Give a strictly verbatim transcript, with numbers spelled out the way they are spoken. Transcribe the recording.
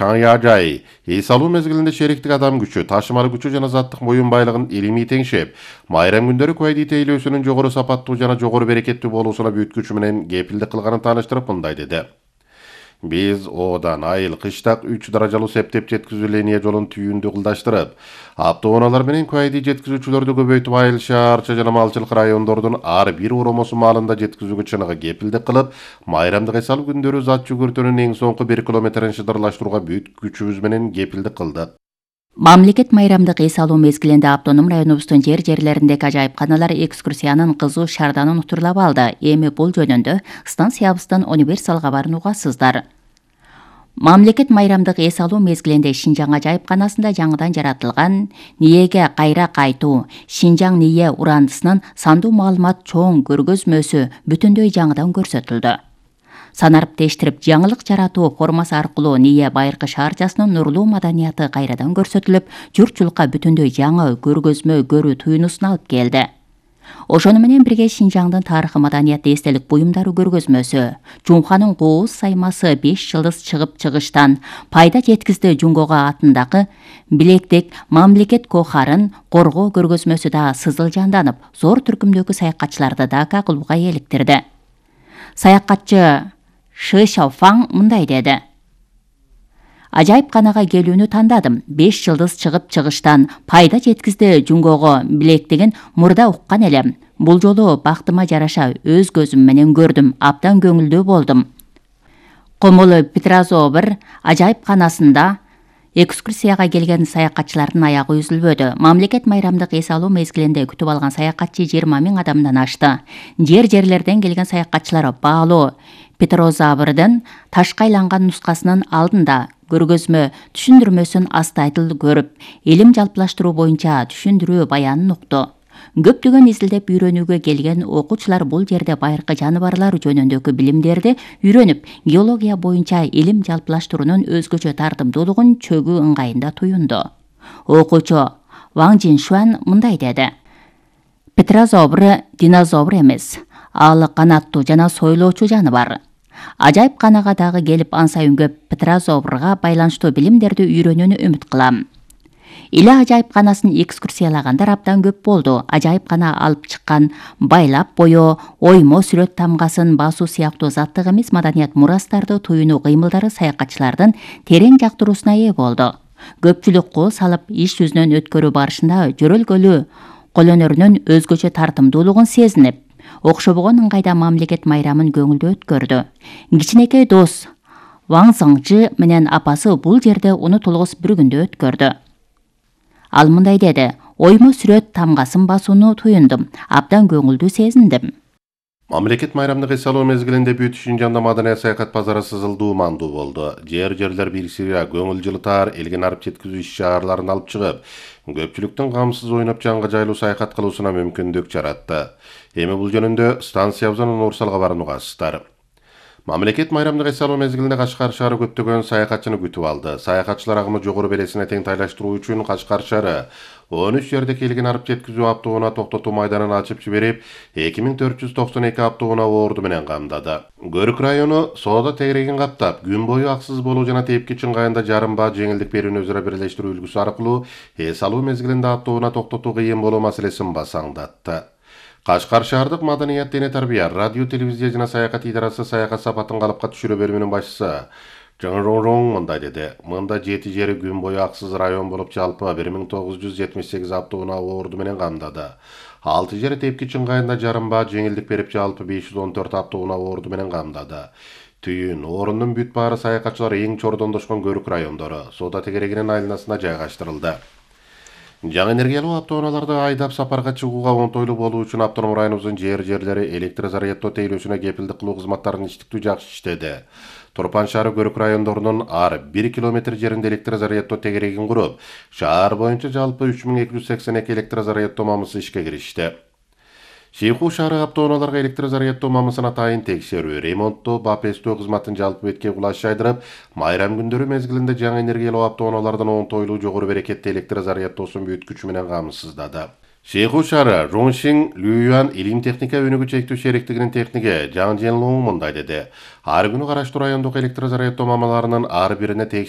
Чаңяжай эс алуу мезгилинде шериктик адам күчү, ташымалы күчү жана заттык моюн байлыгын илимий теңшеп, майрам күндөрү куайди тейлөөсүнүн жогору сапаттуу жана жогору берекеттүү болуусуна бүткүчү менен кепилдик кылганын тааныштырып мындай деди. Биз одан айыл кыштак үч даражалуу септеп жеткизүү линия жолун түйүндү кылдаштырып, автоунаалар менен куайди жеткизүүчүлөрдү көбөйтүп айыл шаарча жана малчылык райондордун ар бир уромосу маалында жеткизүүгө чыныгы кепилдик кылып, майрамдык эс алуу күндөрү зат жүгүртүүнүн эң соңку бир километрин шыдырлаштырууга бүт күчүбүз менен кепилдик кылдык. Мамлекет майрамдык эс алуу мезгилинде автоном районубуздун жер жерлериндеги ажайыпканалар экскурсиянын кызуу шарданын утурлап алды. Эми бул жөнүндө станциябыздын универсал кабарын угасыздар. Мамлекет майрамдык эс алуу мезгилинде Шинжаң ажайыпканасында жаңыдан жаратылган ниеге кайра кайтуу, Шинжаң ние урандысынын сандуу маалымат чоң көргөзмөсү бүтүндөй жаңыдан көрсөтүлдү. Санарып тештирип жаңылык жаратуу формасы аркылуу НИЕ байыркы шаарчасынын нурлуу маданияты кайрадан көрсөтүлүп, журтчулукка бүтүндөй жаңы көргөзмө көрүү туюнусун алып келди. Ошону менен бирге Шинжаңдын тарыхы маданияты эстелик буюмдары көргөзмөсү, Жумханын кооз саймасы беш жылдыз чыгып чыгыштан пайда жеткизди Жунгого атындагы билектик мамлекет кохарын коргоо көргөзмөсү да сызыл жанданып, зор түркүмдөгү саякатчыларды Дака кылууга эликтирди. Саякатчы Шы Шаофаң мындай деди. Ажайыпканага келүүнү тандадым. беш жылдыз чыгып чыгыштан пайда жеткизди Жунгого билектигин мурда уккан элем. Бул жолу бактыма жараша өз көзүм менен көрдүм, абдан көңүлдүү болдум. Комолу Петрозобр ажайыпканасында экскурсияга келген саякатчылардын аягы үзүлбөдү. Мамлекет майрамдык эс алуу мезгилинде күтүп алган саякатчы жыйырма миң адамдан ашты. Жер жерлерден келген саякатчылар баалуу Петрозабрдын ташка айланган нускасынын алдында көргөзмө түшүндүрмөсүн астайдыл көрүп, илим жалпылаштыруу боюнча түшүндүрүү баянын укту. Көптөгөн изилдеп үйрөнүүгө келген окуучулар бул жерде байыркы жаныбарлар жөнүндөгү билимдерди үйрөнүп, геология боюнча илим жалпылаштыруунун өзгөчө тартымдуулугун чөгүү ыңгайында туюнду. Окуучу Ваң Жиншуан мындай деди. Петрозобр динозавр эмес, ал канаттуу жана сойлоочу жаныбар. Ажайыпканага дагы келип ан сайын көп Петрозобрга байланыштуу билимдерди үйрөнүүнү үмүт кылам. Иле ажайыпканасын экскурсиялагандар абдан көп болду. Ажайыпкана алып чыккан байлап боё, оймо сүрөт тамгасын басуу сыяктуу заттык эмес маданият мурастарды туюнуу кыймылдары саякатчылардын терең жактыруусуна ээ болду. Көпчүлүк кол салып иш жүзүнөн өткөрүү барышында жөрөлгөлүү колөнөрүнүн өзгөчө тартымдуулугун сезинип, окшобогон ыңгайда мамлекет майрамын көңүлдүү өткөрдү. Кичинекей дос Ваң Зыңжы менен апасы бул жерде унутулгус бир күндү өткөрдү. Ал мындай деди. Оймо сүрөт тамгасын басууну туюндум. Абдан көңүлдүү сезиндим. Мамлекет майрамдык эс алуу мезгилинде бүт Шинжаңда маданият саякат базары сызылдуу мандуу болду. Жер жерлер бириксирип, көңүл жылытар, элге нарып жеткизүү иш-чараларын алып чыгып, көпчүлүктүн камсыз ойноп жанга жайлуу саякат кылуусуна мүмкүндүк жаратты. Эми бул жөнүндө станциябыздын универсал кабарын угасыздар. Мамлекет майрамдык эс алуу мезгилинде Кашкар шаары көптөгөн саякатчыны күтүп алды. Саякатчылар агымы жогору бересине тең тайлаштыруу үчүн Кашкар шаары он үч жерде келген арып жеткизүү автоунаа токтотуу майданын ачып жиберип, эки миң төрт жүз токсон эки автоунаа орду менен камдады. Көрүк району соода тегерегин каптап, күн бою аксыз болуу жана тепкич ыңгайында жарым баа жеңилдик берүүнү өзара бирлештирүү үлгүсү аркылуу эс алуу мезгилинде автоунаа токтотуу кыйын болуу маселесин басаңдатты. Кашкар шаардык маданият дене тарбия, радио, телевизия жана саякат идарасы саякат сапатын калыпка түшүрүү бөлүмүнүн башчысы Жоң мындай деди. Мында жети жери күн бою аксыз район болуп жалпы бир миң тогуз жүз жетимиш сегиз автоунаа орду менен камдады. алты жери тепкич ыңгайында жарым баа жеңилдик берип жалпы беш жүз он төрт автоунаа орду менен камдады. Түйүн орундун бүт баары саякатчылар эң чордондошкон көрүк райондору соода тегерегинин айланасына жайгаштырылды. Жаңы энергиялуу автоунааларды айдап сапарга чыгууга оңтойлуу болуу үчүн автоном районубуздун жер жерлери электр заряддоо тейлөөсүнө кепилдик кылуу кызматтарын иштиктүү жакшы иштеди. Турпан шаары көрүк райондорунун ар бир километр жеринде электр заряддоо тегерегин куруп, шаар боюнча жалпы үч миң эки жүз сексен эки электр заряддоо мамысы ишке киришти. Шейху шаары автоунааларга электр заряддоо мамысын атайын текшерүү, ремонттоо, бап эстөө кызматын жалпы бетке кулаш жайдырып, майрам күндөрү мезгилинде жаңы энергиялуу автоунаалардын оңтойлуу жогору берекетти электр заряддоосун бүт күчү менен камсыздады. Шейху шаары Жоншин Лююан илим техника өнүгүү чектүү шериктигинин техниги Жан Женлоң мындай деди. Ар күнү караштуу райондук электр заряддоо мамаларынын ар бирине текшерүү